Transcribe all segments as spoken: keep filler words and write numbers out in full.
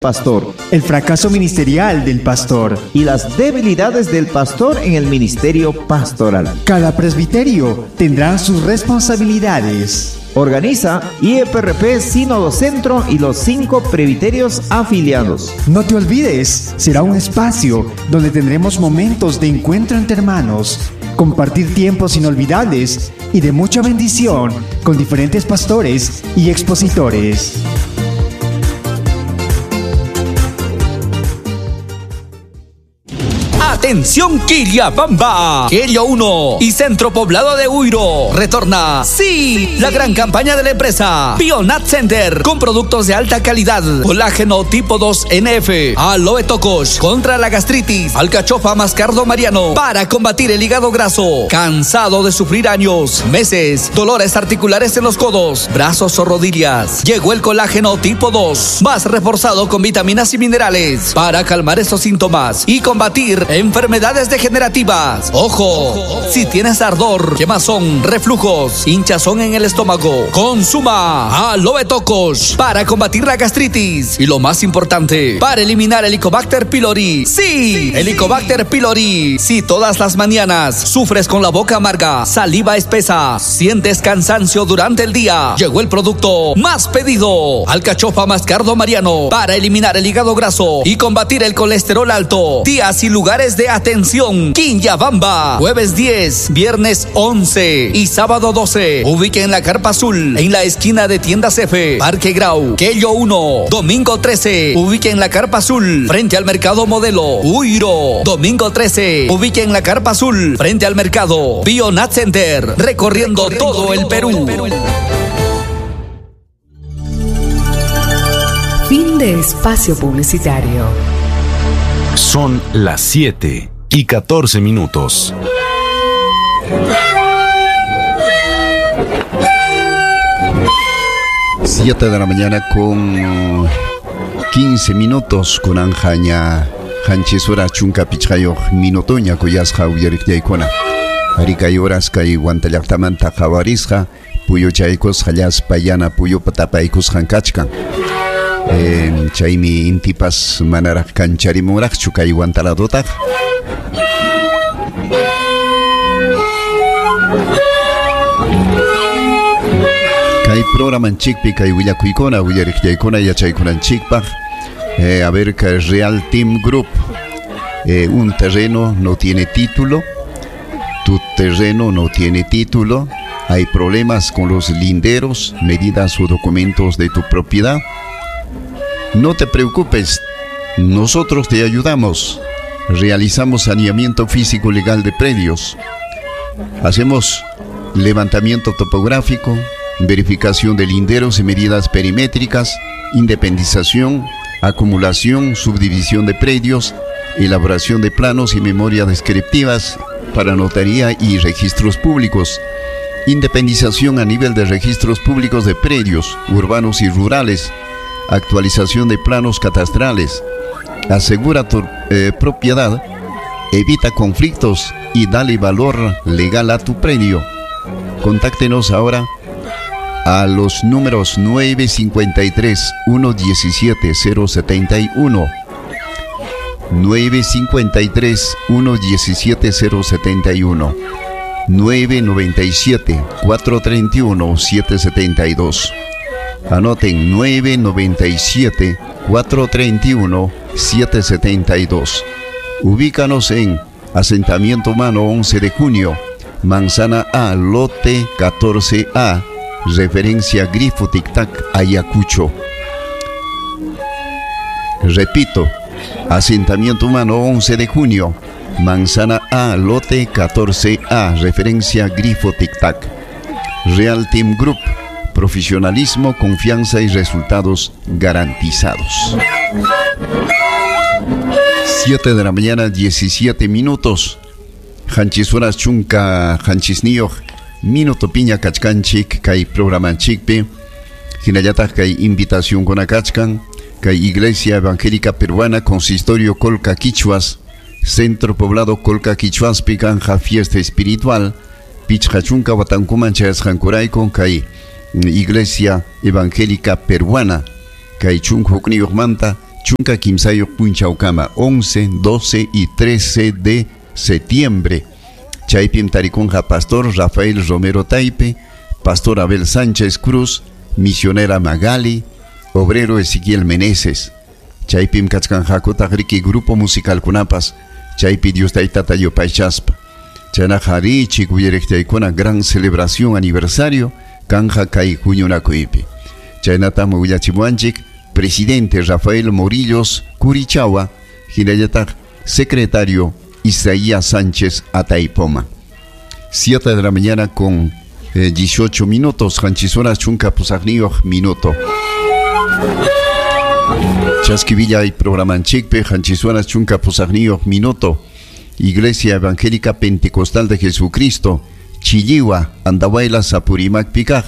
Pastor, el fracaso ministerial del pastor y las debilidades del pastor en el ministerio pastoral. Cada presbiterio tendrá sus responsabilidades. Organiza I E P R P Sínodo Centro y los cinco presbiterios afiliados. No te olvides, será un espacio donde tendremos momentos de encuentro entre hermanos, compartir tiempos inolvidables y de mucha bendición con diferentes pastores y expositores. Atención Quillabamba, Quello uno y Centro Poblado de Huiro. Retorna, sí, la gran campaña de la empresa Bionat Center con productos de alta calidad, colágeno tipo dos N F, aloe tocos contra la gastritis, alcachofa mascardo mariano para combatir el hígado graso. Cansado de sufrir años, meses, dolores articulares en los codos, brazos o rodillas. Llegó el colágeno tipo dos, más reforzado con vitaminas y minerales para calmar esos síntomas y combatir enfermedades degenerativas. Ojo, si tienes ardor, quemazón, reflujos, hinchazón en el estómago, consuma aloe tocos para combatir la gastritis y lo más importante, para eliminar el Helicobacter pylori. Sí, Helicobacter pylori. Si todas las mañanas sufres con la boca amarga, saliva espesa, sientes cansancio durante el día, llegó el producto más pedido, alcachofa mascardo mariano, para eliminar el hígado graso y combatir el colesterol alto. Días y lugares de atención: Quillabamba, jueves diez, viernes once y sábado doce. Ubiquen la Carpa Azul en la esquina de Tiendas F, Parque Grau, Quello uno. Domingo trece, ubiquen la Carpa Azul frente al Mercado Modelo, Huiro. Domingo trece, ubiquen la Carpa Azul frente al Mercado Bionat Center, recorriendo, recorriendo todo el Perú. Fin de espacio publicitario. Son las siete y catorce minutos. siete de la mañana con quince minutos con anjaña hanchisura chunka pichqayuq minutoña kuyasqa uyariqllaykuna. Arikay horas kay Huantallaqtamanta qhawarisqa puyuchaykusqa llaspa yana puyupa tapaykusqan kachkan. Eh, chaymi intipas manaraq kancharimunraqchu kay Huantaladotaq. Kay programanchikpi kay willakuykuna willariqllaykuna yachaykunanchikpaq. Eh, a ver, que Real Team Group, eh, un terreno no tiene título, tu terreno no tiene título, hay problemas con los linderos, medidas o documentos de tu propiedad. No te preocupes, nosotros te ayudamos. Realizamos saneamiento físico legal de predios. Hacemos levantamiento topográfico, verificación de linderos y medidas perimétricas, independización, acumulación, subdivisión de predios, elaboración de planos y memorias descriptivas para notaría y registros públicos, independización a nivel de registros públicos de predios urbanos y rurales, actualización de planos catastrales. Asegura tu eh, propiedad, evita conflictos y dale valor legal a tu predio. Contáctenos ahora a los números nueve cincuenta y tres, uno diecisiete, cero setenta y uno, nueve cincuenta y tres, uno diecisiete, cero setenta y uno, nueve noventa y siete, cuatro treinta y uno, siete setenta y dos. Anoten nueve noventa y siete, cuatro treinta y uno, siete setenta y dos. Ubícanos en Asentamiento Humano once de junio, Manzana A, Lote catorce A, referencia Grifo Tic Tac, Ayacucho. Repito, Asentamiento Humano once de junio, Manzana A, Lote catorce A, referencia Grifo Tic Tac. Real Team Group, profesionalismo, confianza y resultados garantizados. siete de la mañana, diecisiete minutos. Hanchisuras chunka hanchisniyuq minuto piña kachkanchik kay programanchikpi. Hinallataq kay invitación kuna kachkan kay Iglesia Evangélica Peruana Consistorio Colca Quichuas, Centro Poblado Colca Quichuaspi kanja fiesta espiritual pichqa chunka watankuman chayasqankurayku kay Iglesia Evangélica Peruana kay chunka hukniyuqmanta Chunka kimsayuq punchawkama, once, doce y trece de septiembre. Chaypim tarikunqa Pastor Rafael Romero Taipe, Pastor Abel Sánchez Cruz, Misionera Magali, Obrero Ezequiel Meneses. Chaypim kachkanqakutaq riki grupo musical kunapas, chaypi Dios taytata yupaychaspa. Chaynaqa richik uyariqtaykuna gran celebración aniversario kanja kay huñunakuypi. Chaynatam willachimuanchik presidente Rafael Morillos Curichagua, hinallataq secretario Isaías Sánchez Ataipoma. Siete de la mañana con eh, dieciocho minutos, qanchis horas chunka pusaqniyuq minuto. Chaskivilla y programanchikpi, qanchis horas chunka pusaqniyuq minuto. Iglesia Evangélica Pentecostal de Jesucristo, Chilliwa, Andahuaylas, Apurímac, Picaj.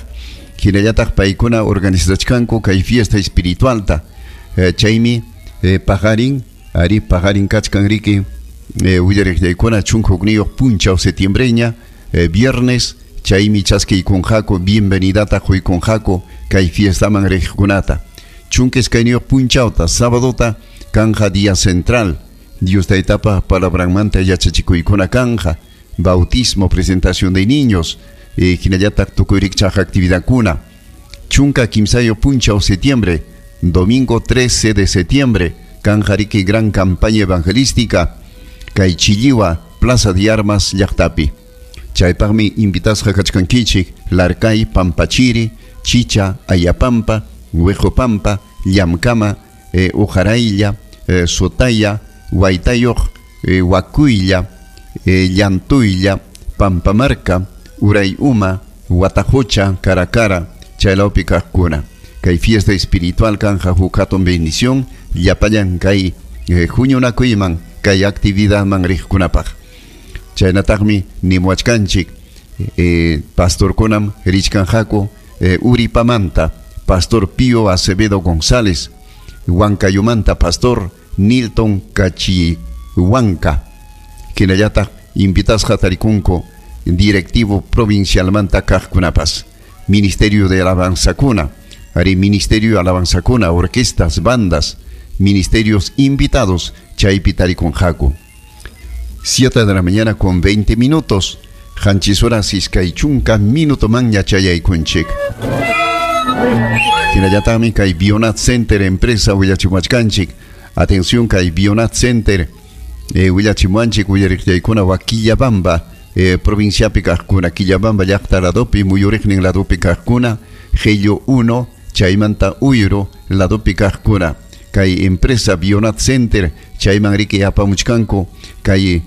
Hinallataq paykuna organizachkanku kay fiesta espiritualta. Eh, chaymi eh, paqarin, ari paqarin kachkan riki, eh, willariqllaykuna chunka hukniyuq punchaw septiembreña, eh, viernes, chaymi chaskiykunqaku, bienvenidata quykunqaku kay fiestaman riqkunata. Chunka iskayniyuq punchawta, sábadota, kanja día central. Dios taytapa palabranmanta yachachikuykuna kanja, bautismo, presentación de niños, eh, hinallataq tukuy rikchaq actividadkuna. Chunka kimsayuq punchaw septiembre, domingo trece de septiembre, kanja riki gran campaña evangelística, kay Chilliwa, Plaza de Armas, llaqtapi. Chaypaqmi invitasqa kachkankichik, Larcay, Pampachiri, Chicha, Ayapampa, Huejopampa, Llamkama, eh, Ujaraylla, eh, Sotaya, Huaytayoq, eh, Huacuylla, eh, Llantuylla, Pampamarca, Urayuma, Huatajocha, Caracara, chaylawpi kaqkuna. Kay fiesta espiritual kanja huk hatun bendición, llapallan kay eh, huñunakuyman, kay actividadman riqkunapaq. Chaynataqmi nimuachkanchik, eh, pastorkunam richkanqaku, eh, Uripamanta, Pastor Pío Acevedo González, Huancayumanta, Pastor Nilton Cachihuanca, hinallataq invitasqa tarikunku directivo provincialmanta kaqkunapas, Ministerio de Alabanzakuna, ari Ministerio de Alabanzakuna, orquestas, bandas, ministerios invitados, chaypi tarikunqaku. Siete de la mañana con veinte minutos, qanchis horas iskay chunka minuto man yachayaykunchik. Hinallataqmi kay Bionat Center empresa willachimuachkanchik. Atención kay Bionat Center, eh, willachimuanchik willariqllaykuna wa Quillabamba, eh, provinciapi kaqkuna, Quillabamba llaqta ladopi, muyuriqnin ladopi kaqkuna, Gello uno, chaymanta Uyro ladopi kaqkuna. Kay empresa Bionat Center chayman riki apamuchkanku kay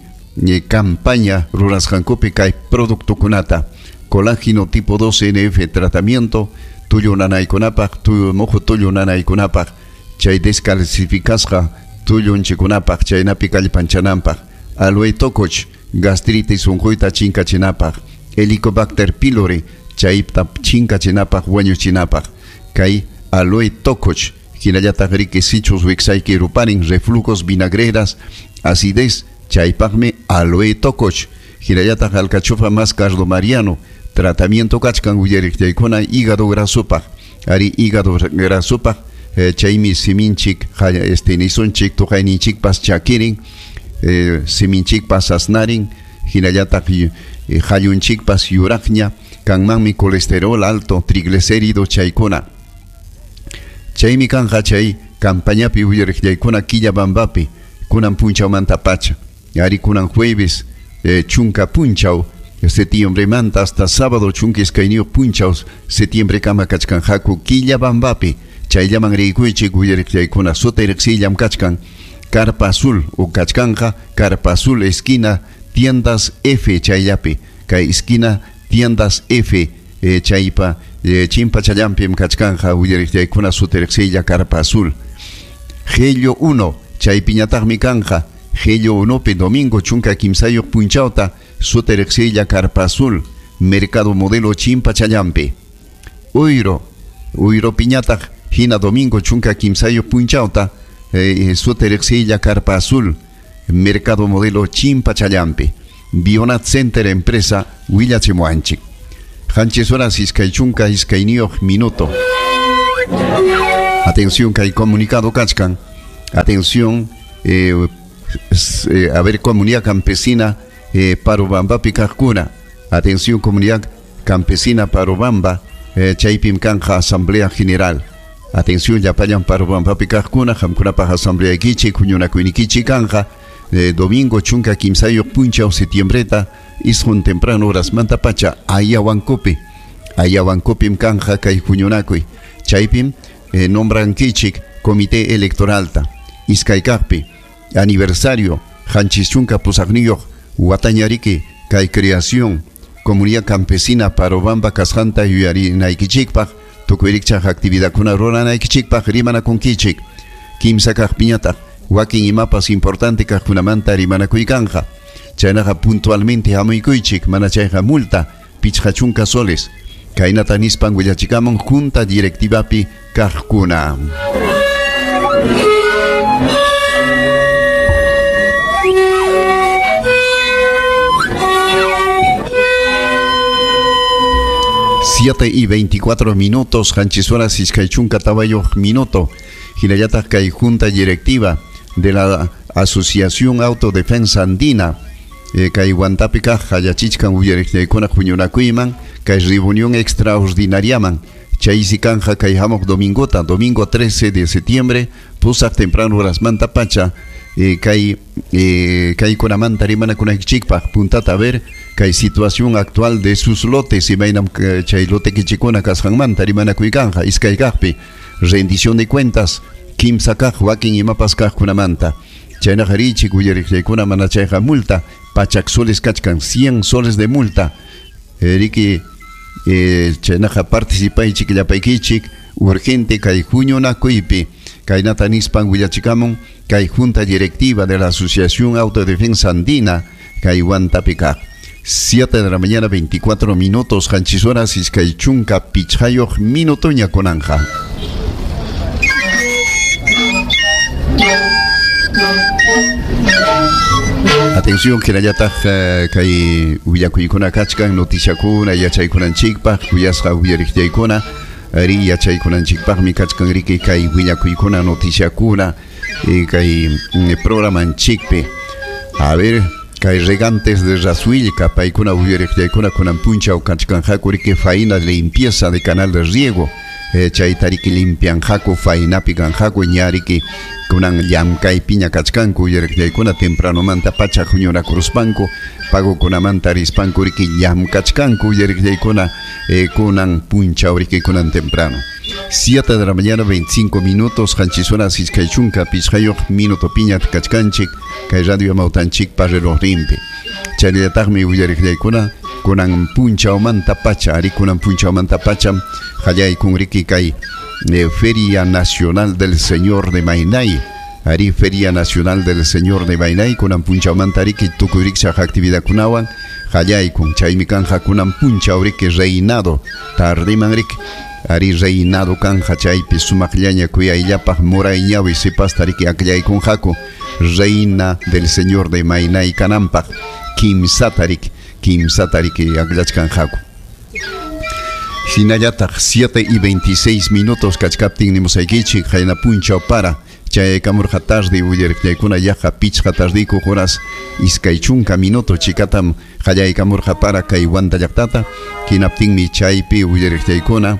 eh, campaña rurasqankupi kay productokunata, colágeno tipo dos N F tratamiento, tullu nanaykunapaq, tullu mojo tullu nanaykunapaq, chay descalcificasqa tullunchikunapaq, chaynapi kallpanchananpaq, aloe tokoch, gastritis unquyta chinkachinapaq, Helicobacter pylori, chayta chinkachinapaq, wañuchinapaq, kay aloe tokoch, hinallataq riki sichus wiksayki ruparin, reflujos, vinagreras, acidez, chaypaqmi aloe tokoch, hinallataq alcachofa más cardo mariano, tratamiento kachkan willariqllaykuna hígado grasopaq, ari hígado grasopaq, eh, chaymi siminchik, este nisunchik, tuqayninchikpas chakirin, eh, siminchikpas asnarin, hinallataq eh, hallunchikpas yuraqña, kanmanmi colesterol alto, triglicérido chaykuna. Chaymi kanja chay campañapi willariqllaykuna Quillabambapi, kunan punchawmanta pacha, ari kunan jueves, eh, chunka punchaw, septiembremanta hasta sábado chunka iskayniyuq punchaw septiembre kama kachkanqaku Quillabambapi, chayllaman riykuychik willariqllaykuna suta riqsiyllam kachkan, Carpa Azul o kachkanja, Carpa Azul esquina Tiendas F chayllapi, kay esquina Tiendas F, eh, chaypa, eh, chimpachallampim kachkanja willariqllaykuna suta riqsiylla Carpa Azul. Gello uno, chaypiñataqmi kanja, Gello unopi domingo chunka kimsayuq punchawta suta riqsiylla Carpa Azul, Mercado Modelo chimpachallampi. Uyro, Uyro piñataq hina domingo chunka kimsayuq punchawta, eh, suta riqsiylla Carpa Azul, Mercado Modelo chimpachallampi. Bionat Center empresa willachimuanchik. Qanchis horas iskay chunka iskayniyuq minuto. Atención kay comunicado kachkan. Atención, eh, eh, a ver, comunidad campesina eh, Parobambapi kaqkuna. Atención, comunidad campesina Parobamba, eh, chaypim kanja asamblea general. Atención, llapallan Parobambapi kaqkuna, qamkunapaq asambleaykichik, huñunakuynikichik kanja, eh, domingo chunka kimsayuq punchaw septiembreta, isqun temprano horasmanta pacha, Ayahuancopi. Ayahuancopim kanja kay huñunakuy. Chaypim eh, nombrankichik comité electoralta. Iskaykaqpi aniversario qanchis chunka pusaqniyuq watañariki kay creación comunidad campesina Parobamba kasqanta yuyarinaykichikpaq tukuy rikchaq actividadkuna ruranaykichikpaq rimanakunkichik. Kimsa kaqpiñataq wakin imapas importante kaqkunamanta rimanakuykanja. Chaynaqa puntualmente hamuykuychik, mana chayqa multa pichqa chunka soles. Kaynata nispan willachikamun junta directivapi kaqkuna. Siete y veinticuatro minutos, qanchis horas iskay chunka tawayuq minuto. Hinallataq kay junta directiva de la Asociación Autodefensa Andina, eh, kay Huantapi kaq hallachichkan uyariqllaykuna huñunakuyman, kay reunión extraordinariaman. Chaysi kanja kay hamuq domingota, domingo trece de septiembre, pusaq temprano horasmanta pacha, eh, kay eh, kaykunamanta rimanakunaykichikpaq puntata a ver kay situación actual de sus lotes imaynam chay lotekichikuna kasqanmanta rimanakuykanja. Iskay kaqpi rendición de cuentas, kimsa kaq wakin imapas kaqkunamanta. Chaynaqa richik uyariqllaykuna mana chayqa multa pachak soles kachkan, cien soles de multa. Riki eh, chaynaqa participaychik llapaykichik urgente kay huñunakuypi. Kaynata nispan willachikamun kay junta directiva de la Asociación Autodefensa Andina kay Huantapi kaq. siete de la mañana veinticuatro minutos, qanchis horas iskay chunka pichqayuq minutoña kunanja. Atención, hinallataq kay willakuykuna kachkan, noticiakuna yachaykunanchikpaq, kuyasqa uyariqllaykuna, ri yachaykunanchikpaqmi kachkan riki kay willakuykuna, noticiakuna, kay programanchikpi. A ver, kay regantes de Rasuilca, paykuna uyariqllaykuna kunan punchaw kachkanqaku riki faena limpieza de canal de riego, eh, chaytariki limpianqaku, faenapi kanqaku, ñariki kunan llamkaypiña kachkanku uyariqllaykuna tempranomanta pacha huñunakuruspanku, pagokunamanta rispanku riki llamkachkanku uyariqllaykuna, eh, kunan punchaw riki kunan temprano. siete de la mañana veinticinco minutos, qanchis horas iskay chunka pichqayuq minuto piña kachkanchik kay radio Amawtanchikpa relojninpi. Chayllataqmi uyariqllaykuna kunan punchawmanta pacha, ari kunan punchawmanta pacha hallaykun riki kay eh, Feria Nacional del Señor de Mainay. Ari Feria Nacional del Señor de Mainay kunan punchawmanta riki tukuy rikchaq actividadkunawan hallaykun. Chaymi kanja kunan punchaw riki reinado tardiman riki. Ari reinado kanja chaypi sumaqllaña kuyayllapaq murayñawi sipasta riki akllaykunqaku reina del Señor de Mainay kananpaq kimsata riki, kimsata riki akllachkanqaku. Hinallataq siete y veintiséis minutos kachkaptin nimusaykichik qayna punchaw para chayaykamurqa tarde uyariqllaykuna yaqa pichqa tardiykuq horas iskay chunka minuto chikatam qallaykamurqa para kay Huanta llaqtata. Hinaptinmi chaypi uyariqllaykuna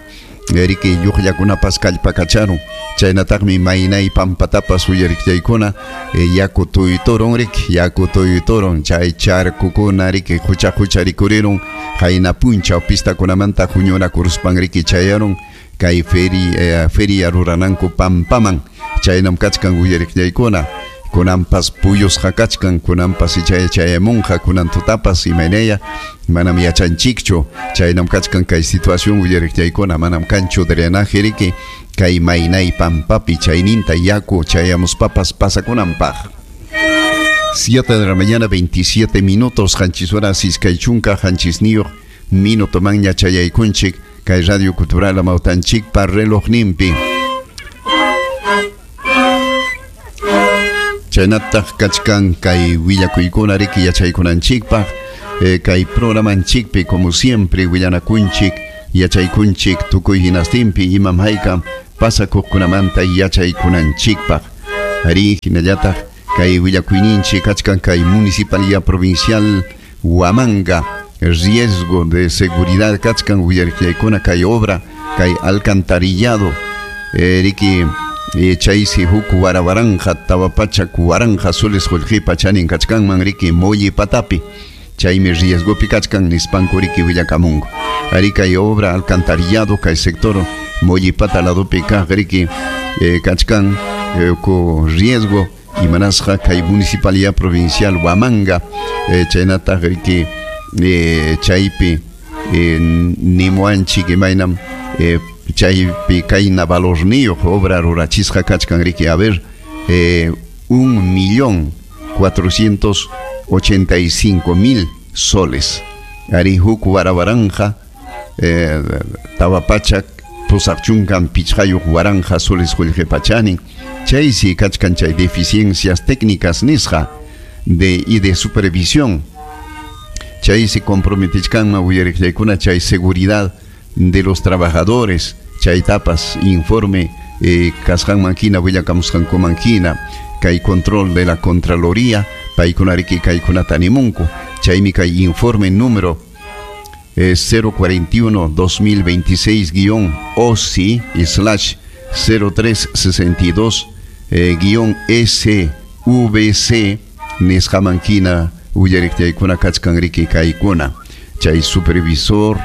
riki lluqllakunapas kallpakacharun. Chaynataqmi Mainay pampatapas uyariqllaykuna eh, yaku tuyturun riki, yaku tuyturun chay charkukuna riki hucha hucha rikurirun qayna punchaw pistakunamanta huñunakuruspan riki chayarun kay feri, eh, feria rurananku pampaman. Chaynam kachkan uyariqllaykuna kunanpas puyusqa kachkan, kunanpas ichaya chayamunqa, kunan tutapas imaynaya manam yachanchikchu. Chaynam kachkan kay situación uyariqllaykuna, manam kanchu drenaje riki kay Mainay pampapi chayninta yaku chayamuspapas pasakunanpaq. siete de la mañana veintisiete minutos, qanchis horas iskay chunka qanchisniyuq minuto manña chayaykunchik kay Radio Cultural Amawtanchikpa relojninpi. Chaynataq kachkan kay willakuykuna riki yachaykunanchikpaq, eh, kay programanchikpi como siempre willanakunchik yachaykunchik tukuy hinastinpi imam haykam pasakuqkunamanta yachaykunanchikpaq. Ari hinallataq kay willakuyninchik kachkan kay Municipalidad Provincial Huamanga riesgo de seguridad kachkan willariqllaykuna kay obra kay alcantarillado eh, riki eh, chaysi huk warawaranja tawa pachak waranja soles qullqipa chanin kachkanman riki Molli Patapi chaymi riesgopi kachkan nispanku riki willakamunku ari kay obra alcantarillado kay sector Molli Pata ladopi kaq riki eh, kachkan eh, ko riesgo imanasqa kay Municipalidad Provincial Huamanga eh, chaynataq riki eh, chaypi eh, nimuanchik imaynam eh, chaypi kayna valorniyuq obra rurachisqa kachkan riki a ver eh, un millón cuatrocientos ochenta y cinco mil soles ari huk warawaranja eh, tawa pachak pusaq chunkan pichqayuq waranja soles qullqipa chanin chaysi kachkan chay deficiencias técnicas nisqa de y de supervisión chaysi comprometichkanman willariqllaykuna chay seguridad de los trabajadores chaytapas informe eh, kasqanman hina willakamusqankuman hina kay control de la Contraloría paykuna riki kaykunata nimunku chaymi kay informe número eh, cero cuarenta y uno dos mil veintiséis guión O C I slash cero tres sesenta y dos eh, guión S V C nisqaman hina willariqllaykuna kachkan riki kaykuna chay supervisor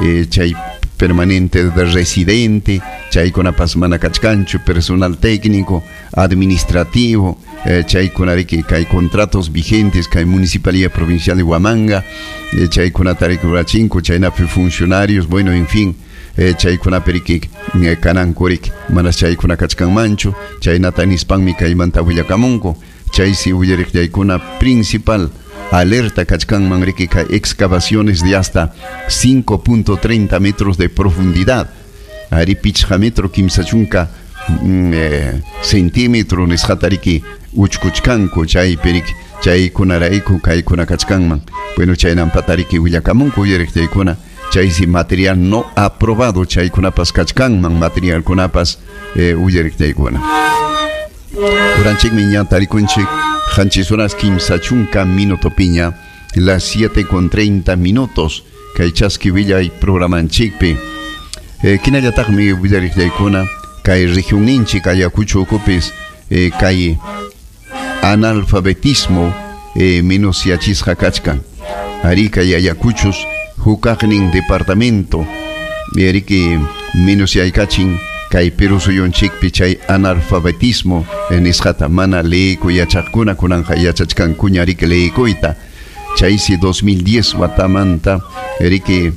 eh, chay permanente de residente chaykunapas mana kachkanchu personal técnico administrativo eh, chaykuna riki kay contratos vigentes kay Municipalidad Provincial de Huamanga eh, chaykunata riki rurachinku chaynapi funcionarios bueno en fin eh, chaykunapi riki eh, kananku riki mana chaykuna kachkanmanchu chaynata nispanmi kaymanta willakamunku chaysi willariqllaykuna principal alerta kachkanman riki kay excavaciones de hasta cinco punto treinta metros de profundidad ari pichqa metro kimsa chunka mm, eh, centímetro nisqata riki uchkuchkanku chaypi riki chaykunarayku kaykuna kachkanman bueno chaynampata riki willakamunku willariqllaykuna chaysi material no aprobado chaykunapas kachkanman materialkunapas eh, willariqllaykuna uranchikmi ña tarikunchik qanchis horas kimsa chunka minuto piña las siete con treinta minutos kay chaski willay programanchikpi eh, kinallataqmi willariqllaykuna kay regionninchik Ayacucho ukupis eh, kay analfabetismo eh, menos yachisqa kachkan ari kay Ayacuchos hukaqnin departamento eriki menos yaykachin kay Perú suyunchikpi chay analfabetismo nisqata mana leeykuy yachaqkuna kunanja yachachkankuña riki leeykuyta chaysi dos mil diez watamanta riki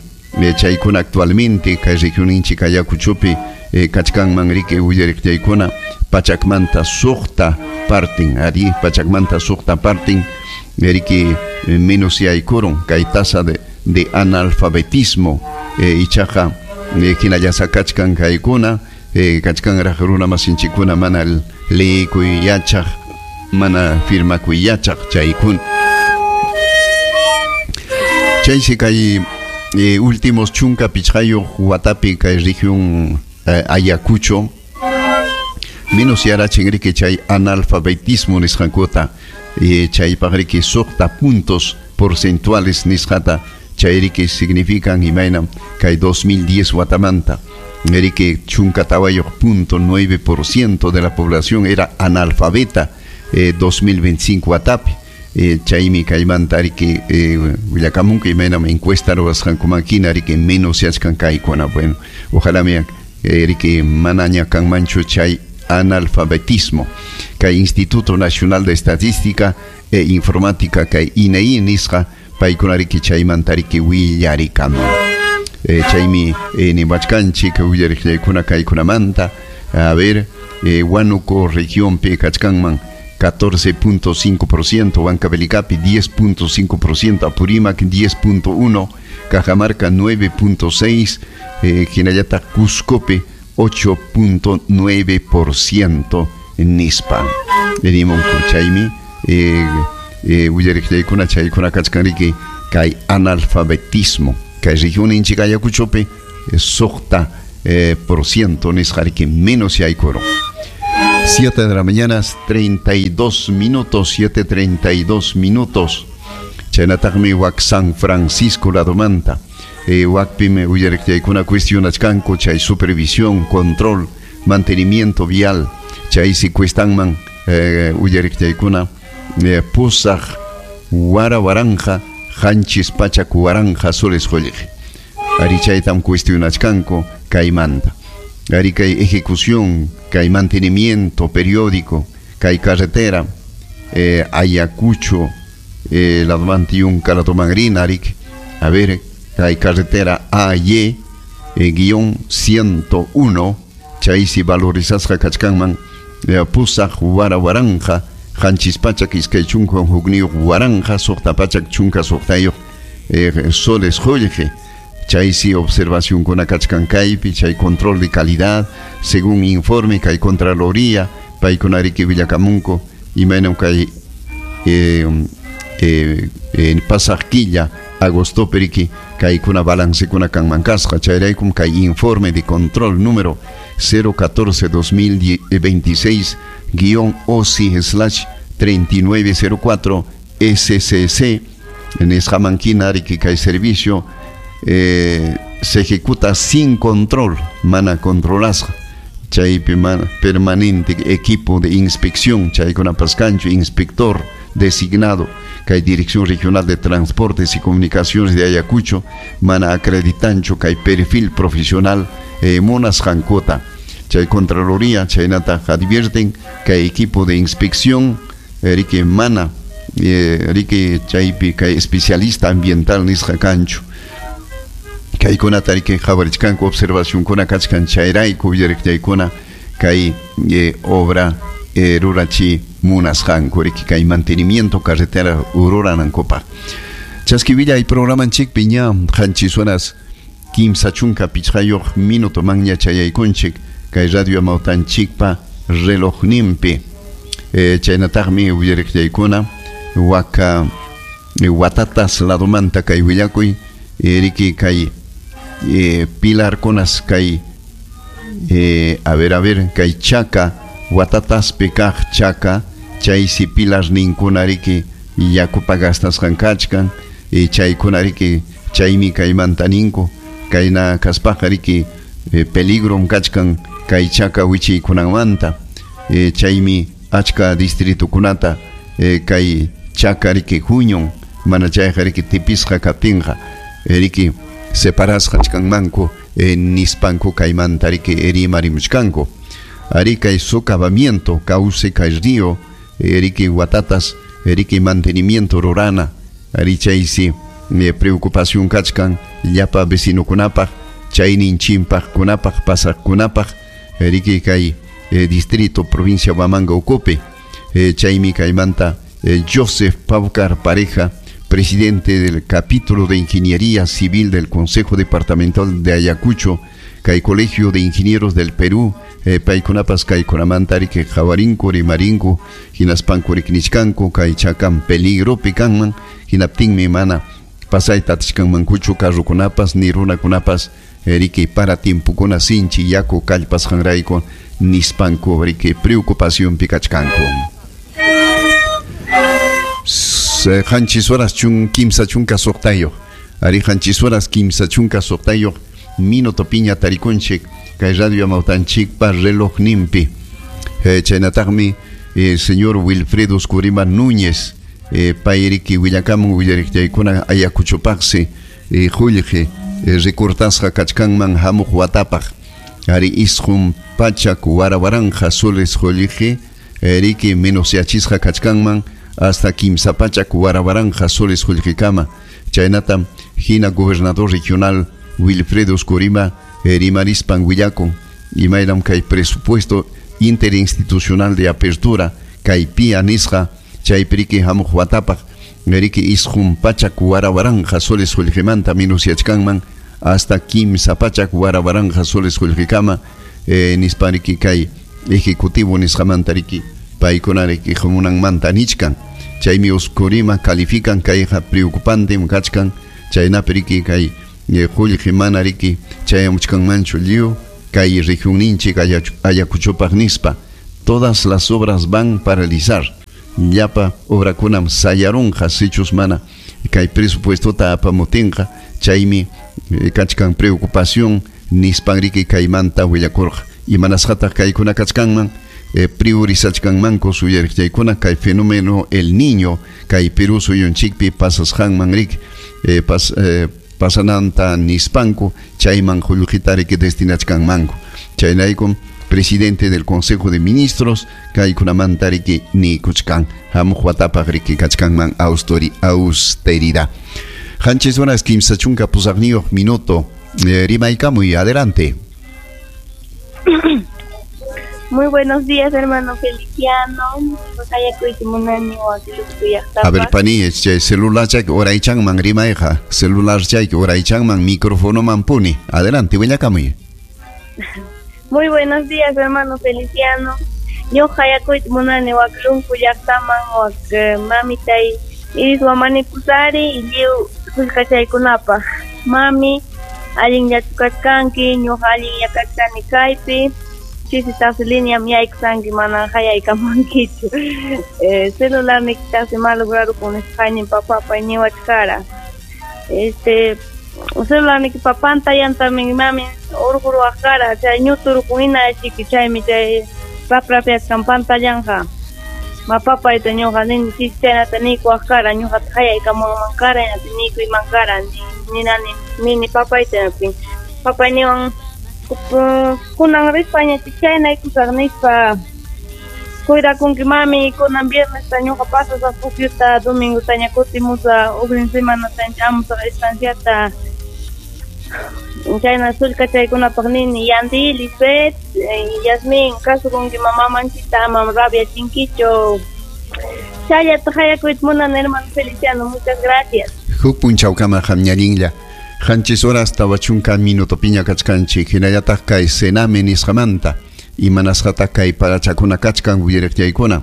chaykuna actualmente kay regionninchik Ayacuchopi eh, kachkanman riki willariqllaykuna pachakmanta suqta partin ari pachakmanta suqta partin riki menos yaykurun kay tasa de, de analfabetismo eh, ichaqa eh, hinallasa kachkan kaykuna eh, kachkanraq runa masinchikuna mana leeykuy yachaq mana firmakuy yachaq chaykuna chaysi kay eh, últimos chunka pichqayuq watapi kay región eh, Ayacucho menos yarachin riki chay analfabetismo nisqankuta eh, chaypaq riki suqta puntos porcentuales nisqata chay riki significan imaynam kay dos mil diez watamanta riki chunka tawayuq punto nueve por ciento de la población era analfabeta eh, dos mil veinticinco watapi eh, chaymi kaymanta riki eh, willakamunku imaynam encuesta ruwasqankuman hina riki menos yachkan kaykuna bueno ojalá mi eh, riki manaña kanmanchu chay analfabetismo kay Instituto Nacional de Estadística e Informática kay I N E I nisqa paykuna riki chaymanta riki willarikamun eh, chaymi eh, niwachkanchik willariqllaykuna kaykunamanta a ver eh, Huánuco regionpi kachkanman catorce punto cinco por ciento, Huancavelicapi diez punto cinco por ciento, Apurímac diez punto uno, Cajamarca nueve punto seis, eh, hinallataq Cuscopi ocho punto nueve por ciento nispa. Nimunku chaymi eh, eh, willariqllaykuna chaykuna kachkan riki kay analfabetismo kay regionninchik Ayacuchopi eh, suqta eh, por ciento nisqa riki menos yaykurun. Siete de la mañana, treinta y dos minutos, siete treinta y dos minutos. Chaynataqmi wak San Francisco ladomanta. Eh, wakpimi uyariqtaykuna cuestionachkanku chay supervisión, control, mantenimiento vial. Chaysi cuestanman eh, uyariqtaykuna eh, pusaq wara waranja qanchis pachak waranja soles qullqi. Ari chaytam cuestionachkanku kaymanta. Ari kay ejecución, kay mantenimiento periódico, kay carretera, eh, Ayacucho, eh, la yunca la tomangrina, arik, a ver, kay carretera A Y, eh, guión ciento uno, chaysi valorizasqa kachkanman, eh, pusaq wara waranja, qanchis pachak iskay chunka hukniyuq waranja, suqta pachak chunka suqtayuq, eh, soles qullqi. Chaysi observación con kachkan kaypi, chay control de calidad, según informe kay Contraloría, paykunariki villakamunku, imaynam kay eh, eh, eh, pasaq killa agosto periki kaykuna balancekuna kanman kasqa, chayraykum kay informe de control número cero catorce dos mil veintiséis guión O C I slash treinta y nueve cero cuatro S C C en nisqaman ariki kay servicio Eh, se ejecuta sin control, mana controlasqa, chaypi mana permanente equipo de inspección, chaykunapas kanchu inspector designado, kay Dirección Regional de Transportes y Comunicaciones de Ayacucho, mana acreditanchu kay perfil profesional eh, munasqankuta. Chay Contraloría, chaynata advierten kay equipo de inspección, riki mana, eh, riki chaypi kay especialista ambiental nisqa kanchu. Kaykunata riki qhawarichkanku observacionkuna kachkan chayrayku willariqtaykuna kay eh, obra eh, rurachi munasqanku riki kay mantenimiento carretera ruranankupaq. Chaskivillay programanchikpi ña qanchis horas kimsa chunka pichqayuq minuto manña chayaykunchik kay radio amawtanchikpa relojninpi. Eh, chaynataqmi willariqtaykuna waka eh, watatas ladomanta kay willakuy eh, riki kay Eh, pilar kunas kay eh, a ver a ver kay chaka watataspi kaq chaka chaysi pilar ninkuna riki yakupa gastasqan kachkan eh, chaykuna riki chaymi kaymanta ninku kayna kaspaqa riki eh, peligrom kachkan kay chaka wichiykunanmanta eh, chaymi achka distritukunata eh, kay chaka riki huñun mana chayqa riki tipisqa kaptinqa eh, riki separasqa kachkanmanku eh, nispanku kaymanta riki rimarimuchkanku. Ari kay socavamiento cauce kay río eh, riki watatas riki mantenimiento rurana ari chaysi eh, preocupación kachkan llapa vecinokunapaq chaynin chimpaqkunapaq pasaqkunapaq riki kay eh, distrito provincia Huamanga ukupi eh, chaymi kaymanta eh, Joseph Paucar Pareja, presidente del capítulo de Ingeniería Civil del Consejo Departamental de Ayacucho, kay Colegio de Ingenieros del Perú, eh, paykunapas kaykunamanta riki qhawarinku rimarinku hinaspanku riknichkanku kay chakan peligropi kanman hinaptinmi mana pasayta atishkanmankuchu carrokunapas ni runakunapas eh, riki para tiempokuna sinchi yaku kallpasqanrayku nispanku riki preocupacionpi kachkanku. Qanchis horas chun kimsa chunka suqtayuq ari qanchis horas kimsa chunka suqtayuq minuto piña tarikunchik kay radio amawtanchikpa reloj nimpi. Eh, chaynataqmi eh, señor Wilfredo Oscurima Núñez eh, payriki willakamun willariqtaykuna Ayacuchopaqsi eh, qullqi eh, recortasqa kachkanman hamuq watapaq ari isqun pachak wara waranja soles qullqi eh, riki menosyachisqa kachkanman hasta kimsa pachak wara waranja soles qullqikama. Chaynatam hina gobernador regional Wilfredo Oscurima eh, rimarispan willakun imaynam kay presupuesto interinstitucional de apertura kay pia nisqa chaypiriki hamuq watapaq riki isqun pachak wara waranja soles qullqimanta minusyachkanman hasta kimsa pachak wara waranja soles qullqikama eh, nispariki kay ejecutivo nisqamanta riki paykuna riki hamunanmanta nichkan. Chaymi Oscurima califican kayqa preocupante kachkan chaynapi riki kay qullqi mana riki chayamuchkanmanchu lliw kay regionninchik Ayacuchopaq nispa Todas las obras van paralizar. Llapa obrakunam sayarunqa sichus mana kay presupuestota apamutinqa chaymi kachkan preocupación nispan riki kaymanta willakurqa. Imanasqataq kaykuna kachkanman eh, priorizachkanmanku suyariqchaykuna kay fenómeno El Niño kay Perú suyunchikpi pasasqanman riki eh, pas, eh, pasananta nispanku chayman qullqita riki destinachkanmanku. Chaynaykum presidente del Consejo de Ministros kaykunamanta riki nikuchkan hamuq watapaq riki kachkanman austeri, austeridad. Qanchis horas kimsa chunka pusaqniyuq minuto. Eh, rimaykamuy, adelante. Muy buenos días, hermano Feliciano. A ver, pani, celular chay oraychanman rimayqa, celular chay oraychanman micrófono man puni. Adelante, willakamuy. Muy buenos días, hermano Feliciano. Ñuqa hayakuyta munani waklunku llaqtaman wak mamitay iris wamani pusari y lliw sullkachaykunapaq. Mami, allinllachu kachkanki, ñuqa allinlla kachkani kaypi. Chisitaqsi lineam yaykusanki mana hayaykamankichu. Eh, celularnikitaqsi malograrukun nisqaynin papapay niwachkara. Este, celularnikipa pantallantami mami urquruwaq kara, chay ñuturukun hina chiki chaymi chay raprapiachkan pantallanqa. Mapapayta ñuqa nini chisi chaynata niykuwaq kara, ñuqata hayaykamunman kara, hinata niykuyman kara, ninani nini papayta papay niwan kunan rispaña chaynaykusaq nispa cuidakunki mami, kunan viernesta ñuqa pasasaq pukyuta, domingotaña kutimusaq, ugrin semanataña chamusaq estanciata. Chayna sullkachaykunapaq nini Yandy, Lisbeth, Yasmin, kasukunki mamamanchita amam rabiachinkichu. Chayllata hayakuyta munani, hermano Feliciano, muchas gracias. Huk punchawkama qamñallinlla. Qanchis horas tawa chunka minutopiña kachkanchik, hinallataq kay Sename nisqamanta imanasqataq kay parachakuna kachkan willariqchaykuna.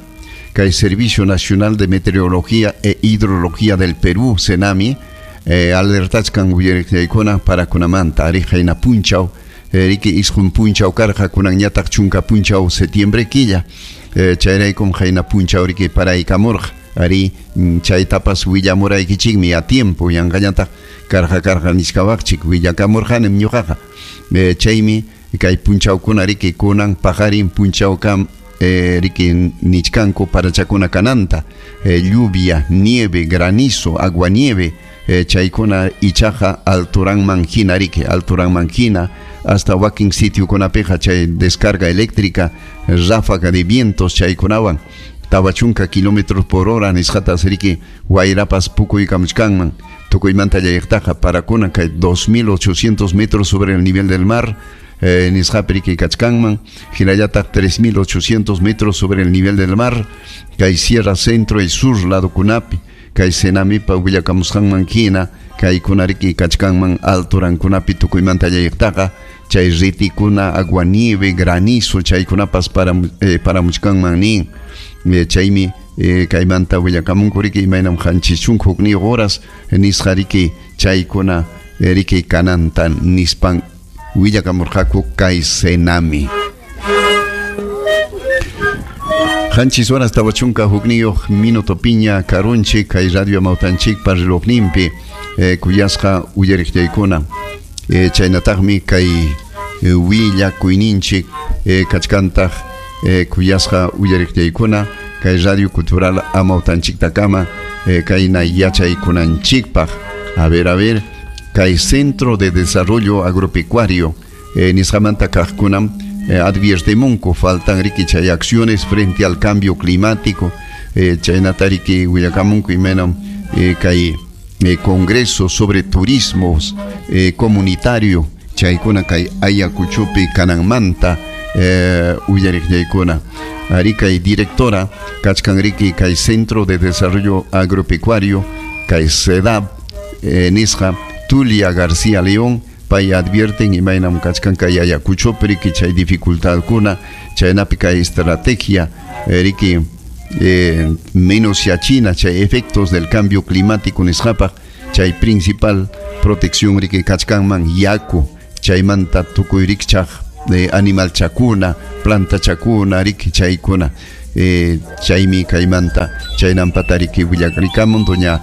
Kay Servicio Nacional de Meteorología e Hidrología del Perú, Senami, eh, alertachkan willariqchaykuna parakunamanta ari qayna punchaw, eh, riki isqun punchaw karqa kunanñataq chunka punchaw septiembre killa, eh, chayraykum qayna punchaw riki paraykamurqa. Ari chaytapas willamuraykichikmi a tiempo yanqañataq karqa karqa niskawaqchik willakamurqanim ñuqaqa. Eh, chaymi kay punchawkuna riki kunan paqarin punchawkam eh, riki nichkanku parachakuna kananta, eh, lluvia, nieve, granizo, agua nieve, eh, chaykuna ichaqa alturanman hina riki, alturanman hina hasta wakin sitiokunapiqa chay descarga eléctrica, ráfaga de vientos chaykunawan tawa chunka kilómetros por hora nisqatas riki wayrapas pukuykamuchkanman tukuymanta llayaqtaqa parakuna kay dos mil ochocientos metros sobre el nivel del mar, eh, nisqapi riki kachkanman hinallataq tres mil ochocientos metros sobre el nivel del mar kay sierra centro y sur ladokunapi kay Senamipa willakamusqanman hina kaykuna riki kachkanman alturankunapi tukuymanta llayaqtaqa chay ritikuna aguanieve, granizo chaykunapas para eh, paramuchkanman nin. Eh, chaymi eh, kaymanta willakamunku riki imaynam qanchis chunka hukniyuq horas nisqa riki chaykuna eh, riki kananta nispan willakamurqaku kay Senami. Qanchis horas tawa chunka hukniyuq minuto piña karunchik kay radio Amawtanchikpa relojninpi eh, kuyasqa uyariqchaykuna. Eh, chaynataqmi kay eh, willakuyninchik eh, kachkantaq eh, kuyasqa uyariqchaykuna kay Radio Cultural Amawtanchiktakama eh, kayna yachaykunanchikpaq. A ver, a ver, kay Centro de Desarrollo Agropecuario eh, nisqamanta kaqkunam eh, adviertemunku faltan riki chay acciones frente al cambio climático, eh, chaynata riki willakamunku imaynam eh, kay eh, Congreso sobre Turismos eh, Comunitario chaykuna kay Ayacuchopi kananmanta eh, uyariqchaykuna. Ari kay directora kachkan riki kay Centro de Desarrollo Agropecuario kay CEDAP eh, nisqa Tulia García León pay advierten imaynam kachkan kay Ayacuchopi riki chay dificultadkuna chaynapi kay estrategia eh, riki eh, menos yachina chay efectos del cambio climático nisqapaq chay principal protección riki kachkanman yaku chaymanta tukuy rikchaq de animal chakuna, planta chakuna, riki chaykuna, eh, chaymi kaymanta chaynampata riki willakarikamun doña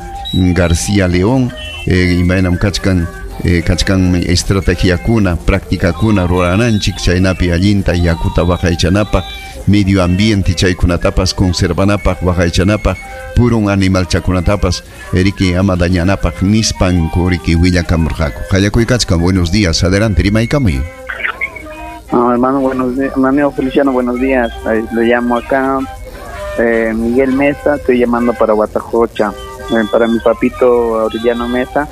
García León, eh, imaynam kachkan eh, kachkanmi estrategiakuna, prácticakuna rurananchik chaynapi allinta yakuta waqaychanapaq, medio ambiente chaykunatapas conservanapaq waqaychanapaq, purun animal chakunatapas riki ama dañanapaq nispanku riki willakamurqaku. Qallakuykachkan, buenos días, adelante, rimaykamuy. No, hermano, buenos días, amigo Feliciano, buenos días. Ahí lo llamo acá, eh, Miguel Mesa, estoy llamando para Huatajocha, eh, para mi papito Aureliano Mesa.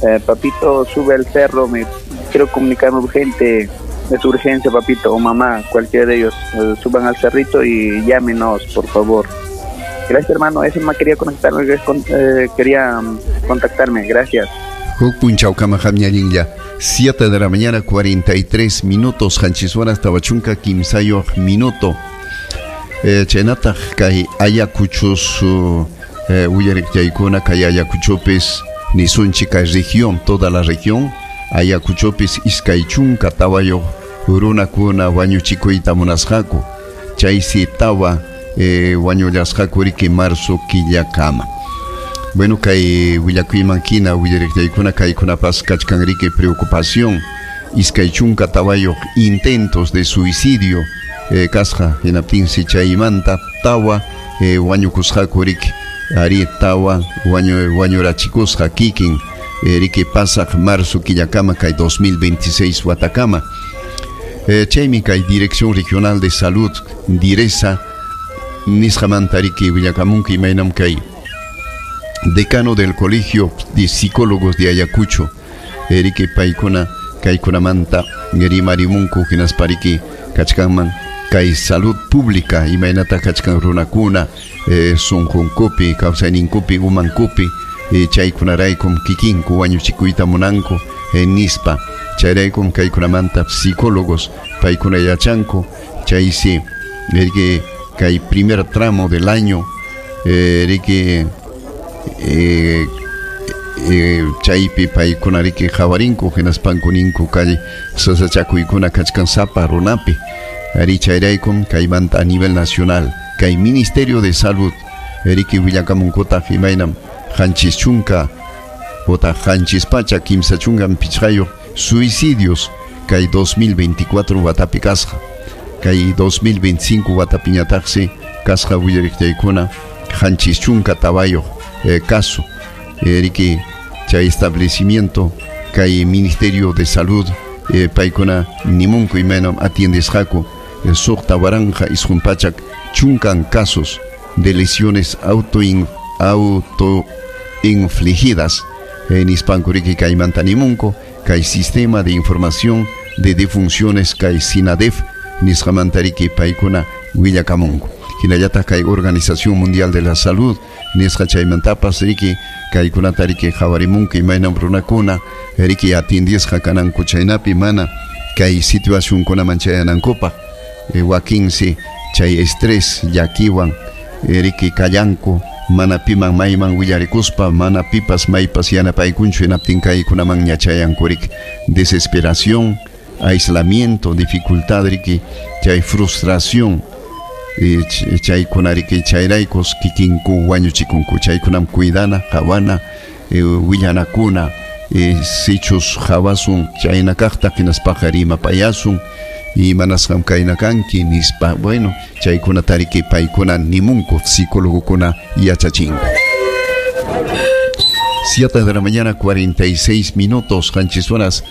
Eh, papito, sube al cerro, me quiero comunicarme urgente, es urgencia, papito, o mamá, cualquiera de ellos, eh, suban al cerrito y llámenos, por favor. Gracias, hermano, eso me quería conectarme, eh, quería contactarme, gracias. siete de la mañana, cuarenta y tres minutos, qanchis horas tawa chunka kimsayuq minuto. Eh, chaynataq kay Ayacuchos eh, uyariqchaykuna kay Ayacuchopis nisunchik kay región, toda la región, Ayacuchopis iskay chunka tawayuq runakuna wañuchikuyta munasqaku, chaysi tawa eh, wañullasqaku riki marzo killakama. Bueno, kay willakuyman hina willariqchaykuna kaykunapas kachkan riki preocupación, iskay chunka tawayuq intentos de suicidio eh, kasqa hinaptinsi chaymanta tawa eh, wañukusqaku riki ari tawa wañu wañurachikusqa kikin eh, riki pasaq marzo killakama kay dos mil veintiséis watakama. Eh, chaymi kay Dirección Regional de Salud Diresa nisqamanta riki willakamunki imaynam kay decano del Colegio de Psicólogos de Ayacucho, riki paykuna kaykunamanta rimarimunku hinaspa riki kachkanman kay salud pública imaynata kachkan runakuna eh, sunqunkupi kawsayninkupi umankupi eh, chaykunaraykum kikinku wañuchikuyta munanku eh, nispa chayraykum kaykunamanta psicólogos paykuna yachanku chaysi riki kay primer tramo del año eh, riki Eh, eh, chaypi paykuna riki qhawarinku hinaspanku ninku kay sasachakuykuna kachkan sapa runapi ari chayraykum kaymanta a nivel nacional kay Ministerio de Salud riki willakamunkutaq imaynam qanchis chunka otaq qanchis pacha kimsa chunkan pichqayuq suicidios kay dos mil veinticuatro watapi kasqa kay dos mil veinticinco watapiñataqsi kasqa willariqchaykuna qanchis chunka tawayuq Eh, caso eh, riki chay establecimiento kay Ministerio de Salud eh, paykuna nimunku imaynam atiendesqaku eh, suqta waranqa isqun pachak chunkan casos de lesiones autoin, autoinfligidas eh, nispanku riki kaymanta nimunku kay sistema de información de defunciones kay SINADEF nisqamanta riki paykuna willakamunku. Hinallataq kay Organización Mundial de la Salud nisqa chaymantapas riki kaykunata riki qhawarimunku imaynam runakuna riki atiendisqa kananku chaynapi mana kay situacionkunaman chayanankupaq eh, wakinsi chay estrés llakiwan eh, riki kallanku mana piman mayman willarikuspa mana pipas maypas yanapaykunchu hinaptin kaykunaman ñachayanku riki desesperación, aislamiento, dificultad riki chay frustración chaykuna riki chayraykos kikinku wañuchikunku chaykunam cuidana qhawana eh, willanakuna eh, sichus qhawasun chayna kaqta hinaspaqa rimapayasun imanasqam kayna kanki nispa bueno chaykunata riki paykuna nimunku psicologokuna yachachinku. siete de la mañana cuarenta y seis minutos qanchis horas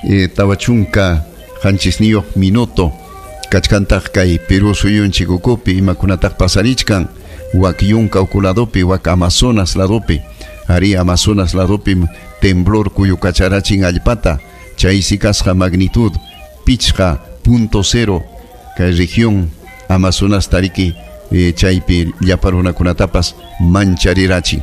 eh, tawa chunka qanchisniyuq minuto kachkantaq kay Perú suyunchik ukupi imakunataq pasarichkan wak yunka uku ladopi wak Amazonas ladopi ari Amazonas ladopi temblor kuyukacharachin allpata chaysi kasqa magnitud pichqa punto cero kay región Amazonas tariki eh, chaypi llapa runakunatapas mancharirachin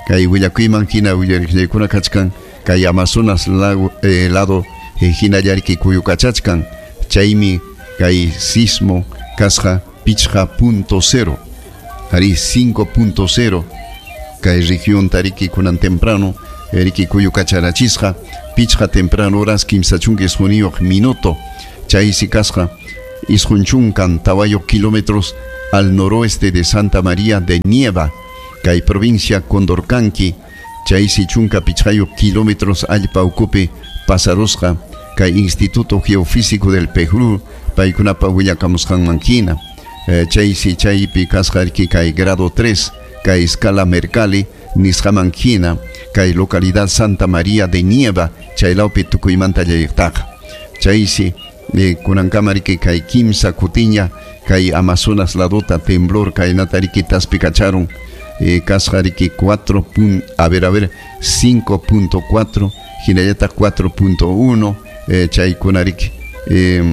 kay willakuyman hina willariqllaykuna kachkan kay Amazonas lago, eh, lado eh, hinallariki kuyukachachkan chaymi kay sismo kasqa pichqa punto cero ari cinco punto cero kay región tariki kunan temprano riki kuyukacharachisqa pichqa temprano horas kimsa chunka isquniyuq minuto Chaysi kasqa isqun chunkan tawayuq kilómetros al noroeste de Santa María de Nieva, kay provincia Condorcanqui, chaysi chunka pichqayuq kilómetros allpa ukupi pasarusqa kay Instituto Geofísico del Perú paykunapa willakamusqanman hina. Eh, chaysi chaypi kasqa riki kay grado tres kay escala Mercalli nisqaman hina kay localidad Santa María de Nieva chaylawpi tukuymanta llayqtaqa. Chaysi eh, kunankama riki kay kimsa kutiña kay Amazonas ladota temblor kaynata riki taspikacharun eh, kasqa riki cuatro a ver a ver cinco punto cuatro hinallataq cuatro punto uno eh, chaykuna riki eh,